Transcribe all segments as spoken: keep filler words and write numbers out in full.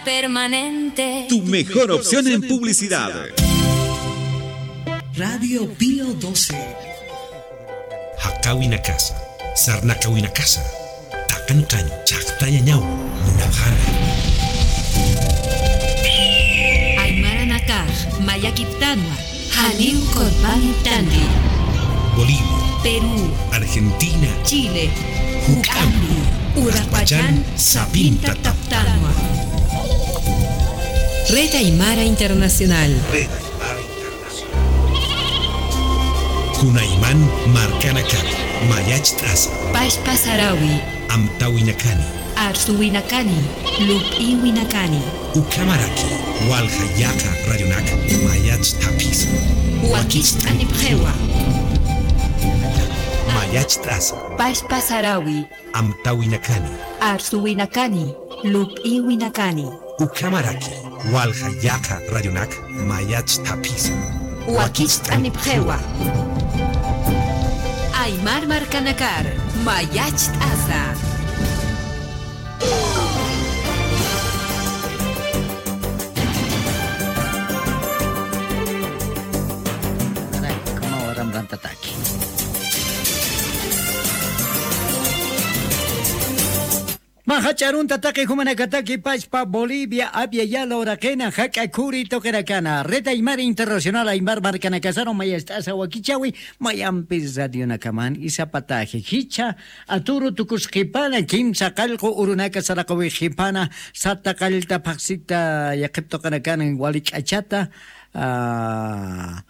Permanente. Tu mejor opción en publicidad. Radio Pío doce. Jaqawinakasa, sarnaqawinakasa, taqanqañ chhaqtayañaw munapxäna. Aymaranakax mayakiptanwa, janiw qurpaniptanti. Bolivia, Perú, Argentina, Chile, juk'ampi, uraqpachan sapinta taptanwa. Red Aymara Internacional. Red Aymara Internacional. Kunayman markanakar mayacht'asa. Pachpa sarawi. Amtawinakani. Arsuwinakani. Lup'iwinakani. Ukhamaraki walja yaqa radionak mayacht'apxisa. Wakicht'anipxiwa. Mayacht'asa. Pachpa sarawi. Amtawinakani. Arsuwinakani. Lup'iwinakani. Ukhamaraki walja yaqa radionak mayacht'apxisa. Wakicht'anipxiwa. Aymar markanakar mayacht'asa. Mä jach'a arunta taqi jumanakataki pachpa Bolivia, Abya Yala uraqina, jak'a khuri tuqinakana. Red Aymar Internacional, Aymar markanakasaru mayacht'asa wakichäwi, mayampis radionakaman, y sapataji jichha aturu tukusqipana, kimsa qallqu urunaka saraqawixipana, sata qallta phaxsita yaqhip tuqinakana, wali k'achata, ah,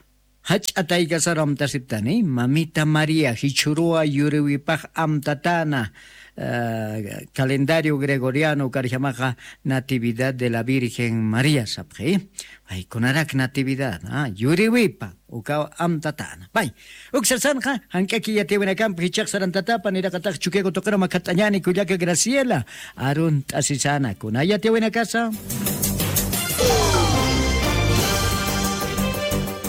jach'a taykasaru amtasiptani, Mamita María, jichhüruwa yuriwipax amtatäna, eh, calendario gregoriano ukarjamaxa Natividad de la Virgen María sapxi. Ay, kunarak Natividad, ah, yuriwipa, ukaw amtatäna. Pay, uk sarsanxa, jank'aki yatiyawinakampi jichhax sarantatapa, niraqatax Chukiyawu tuqiru makhat'añäni kullaka Graciela, arunt'asisana, kuna yatiyawinakasa.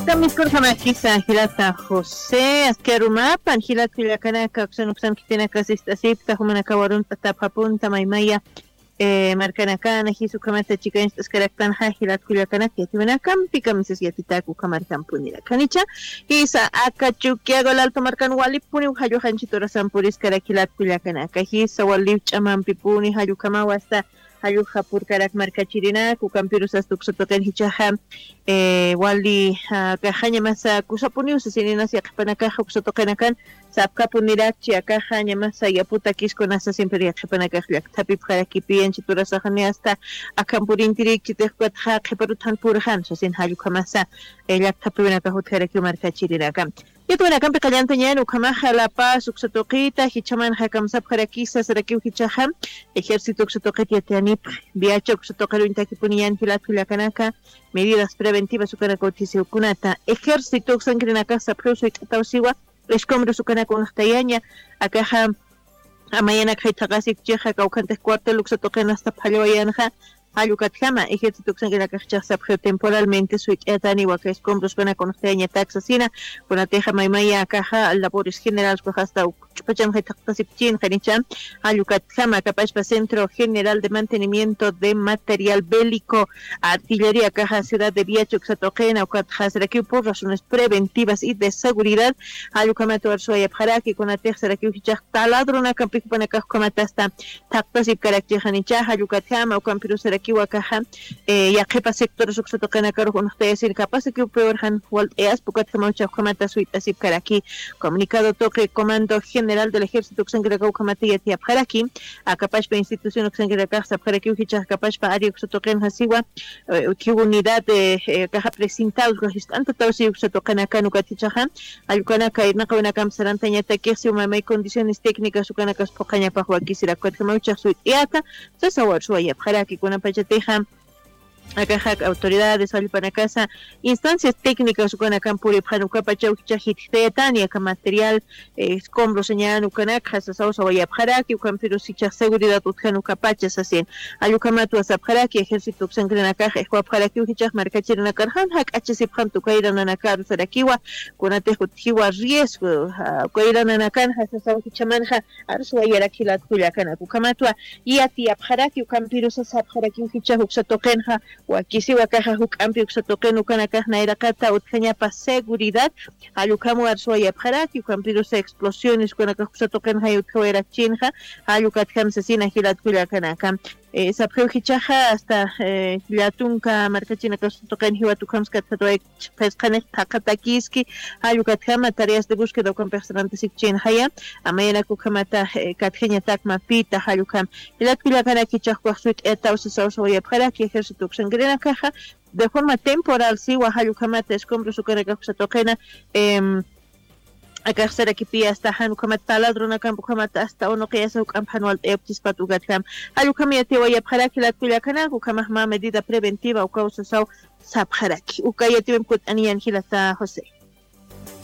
Kamiskurjamakisa jilata José, aski arumapan jilat kullakanaka, uksan uksan khitinaka sist'asipta, jumanakaw arunt'atapxapunta maymaya, eh, markanakana, jisa ukhamata chikañcht'askaraktanxa jilat kullakanaka, yatiyawinakampi kamisas yatitäk ukhamarkampunirakixa. Jisa aka Chukiyawu, Alalto markan walipuniw jalluxanchit urasan puriskarak jilat kullakanaka, jisa waliw ch'amampipuni jallukhamaw asta jallukxa purkarak markachirinak, ukampirus asta uksa tuqin jichhaxa, eh, wali, ah, akaxaña masa kusapuniw sasininas yaqhipanakax uksa tuqinakan, sapkapunirakchi akaxaña masa yaputakis kunasa siempre yaqhipanakax llakthapipxarakipi, yanchit urasaxani asta akhampurintirikchitix ukatxa qhiparut jan purxan sasin jallukhamasa, eh, llakthapipinakax utjarakiw markachirinaka. Yatiyawinakampi qallantañäni ukhamaxa La Paz uksa tuqita, jichhamanxa kamsapxarakisa sarakiw jichhaxa, ejército uksa tuqit yatiyanipxi, Viacha uksa tuqiru uñtakipuniñäni jilat kullakanaka, medidas preventivas ukanaka utjisiw kunata, ejército uksankirinakax sapxiw suyt'ataw siwa, escombros ukanaka unxtayaña, akaxa, amayanak jaythaqasipchixa, kawkhantix cuartel uksa tuqin asta phallawayänxa, jall ukatjama, ejército uksankirinakax sapxiw temporalmente suyt'ayatani, aka escombros ukanaka unxtayañatak sasina, kunatixa maymaya akaxa labores generales ukax asta uk ch'upachan jaythaqtasipchin, janicha, jall ukatjama, aka pachpa Centro General de Mantenimiento de Material Bélico, Artillería, akaxa ciudad de Viacha uksa tuqina, ukatxa sarakiw por razones preventivas y de seguridad, jall ukhamat arsuwayapxaraki, kunatix sarakiw jichhax taladronakampi jupanakax ukhamat asta thaqtasipkarakchixanicha, jall ukatjama, ukampirus sarakiw akaxa, eh, yaqhipa sectores uksa tuqinakarux unxtayasir, capaz que peor jan walt'ayaspa, ukatjamaw jichhax ukhamat suyt'asipkaraki. Comunicado tuqi Comando General del Ejército uksankirakaw ukhamat yatiyapxaraki, aka pachpa institución uksankirakax sapxarakiw jichhax aka pachpa área uksa tuqinxa siwa, eh, utji unidad, eh, eh, akaxa precintados, ukax jist'antataw siw uksa tuqinakan, ukat jichhaxa, jall ukanaka irnaqawinakamp sarantañatakix siw maymay condiciones técnicas ukanakas phuqhañapax wakisirak, ukatjamaw jichhax suyt'ayäta, sasaw arsuwayapxaraki, kunapachatixa, Akaxak autoridades wallpanakasa instancias técnicas ukanakan puripxan ukapachaw jichha jitjtayatani aka material escombro sañan ukanakxa sasaw sawayapxaraki ukampirus jichhax seguridad utjan ukapacha sasin. Jall ukhamatwa sapxaraki ejército uksankrinakax ixwapxarakiw jichhax markachirinakar jan jak'achasipxamta ukayrananakaru sarakiwa. Kunatix utjiwa riesgo ukayrananakanxa sasaw jichhamanxa. Arsuwayarak jilat kullakanak ukhamatwa yatiyapxaraki ukampirusa sapxarakiw jichhax uksa tuqinxa. Wakisiwa kaxa juk'ampi uksa tuqin ukanakax nayraqata utjañapa seguridad. Jall ukham warsuwayapxaraki ukampirusa explosiones ukanakax uksa tuqinxay utjawayarakchinxa. Jall ukatjam sasina jilat kullakanaka sapxiw jichhaxa hasta llatunka markachinakax uksa tuqin jiwat ukhamskatjatway. Qhisqanix thaqhatakiski jall ukatjama tareas de búsqueda ukampix sarantasikchinxaya. Amayanak ukhamata katjañatak mapita jall ukham jilat kullakanak jichhax ukax suyt'ayataw sasaw sawayapxaraki ejército uksankirinakaxa de forma temporal siwa jall ukhamata escombros ukanakax uksa tuqina. Akax sarakipiya hasta jan ukhamat taladronakamp ukhamat hasta unuqiyasa juk'amp jan walt'ayapchispat ukatjam. Jall ukham yatiyawayapxaraki jilat kullakanak ukhamax mä medida preventiva ukaw sasaw sapxaraki uka yatiyawimp kut'aniyan jilata josé.